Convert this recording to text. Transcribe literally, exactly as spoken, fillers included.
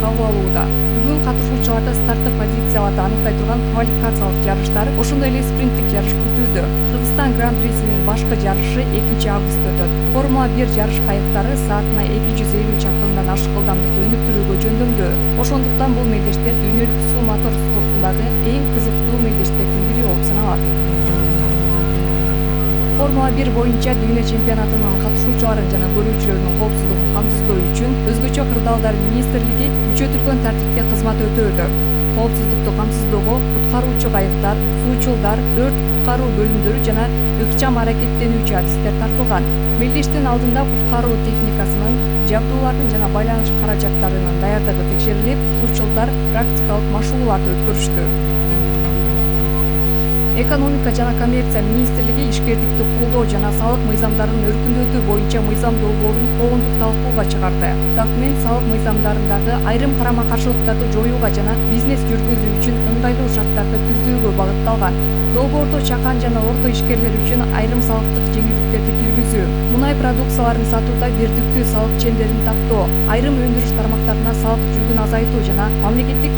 кабыл алууда. Бүгүн катышуучуларды старттык позицияларды аныктай турган квалификациялык жарыштар, ошондой эле спринттик жарыш күтүүдө. Кыргызстан гран-присинин башкы жарышы экинчи августта өтөт. Формула бир жарыш кайыктары саатына эки жүз элүү чакырымдан ашык ылдамдыкты өнүктүрүүгө жөндөмдүү. Ошондуктан бул мелдештер дүйнөлүк суу мотор спортундагы эң кызыктуу мелдештердин бири болуп саналат. Формула бир боюнча дүйнө чемпионатынын катышуучуларын жана көрүүчүлөрүнүн коопсуздугун камсыздоо үчүн өзгөчө кырдаалдар министрлиги күчөтүлгөн тартипте кызмат өтөөдө. Коопсуздукту камсыздоого куткаруучу кайыктар, суучулдар, өрт куткаруу бөлүмдөрү жана ыкчам аракеттенүүчү адистер тартылган. Мелдештин алдында куткаруу техникасынын, жабдуулардын жана байланыш каражаттарынын даярдыгы текшерилип, суучулдар практикалык машыгууларды өткөрүштү. Экономика жана коммерция министрлиги ишкердикти колдоо жана салык мыйзамдарын өркүндөтүү боюнча мыйзам долбоорун коомдук талкууга чыгарды. Документ салык мыйзамдарындагы айрым карама-каршылыктарды жоюуга жана бизнес жүргүзүү үчүн ыңгайлуу шарттарды түзүүгө багытталган. Долбоордо чакан жана орто ишкерлер үчүн айрым салыктык жеңилдиктерди киргизүү, мунай продукцияларын сатууда бирдиктүү салык чендерин тактоо, айрым өндүрүш тармактарына салык жүгүн азайтуу жана мамлекеттик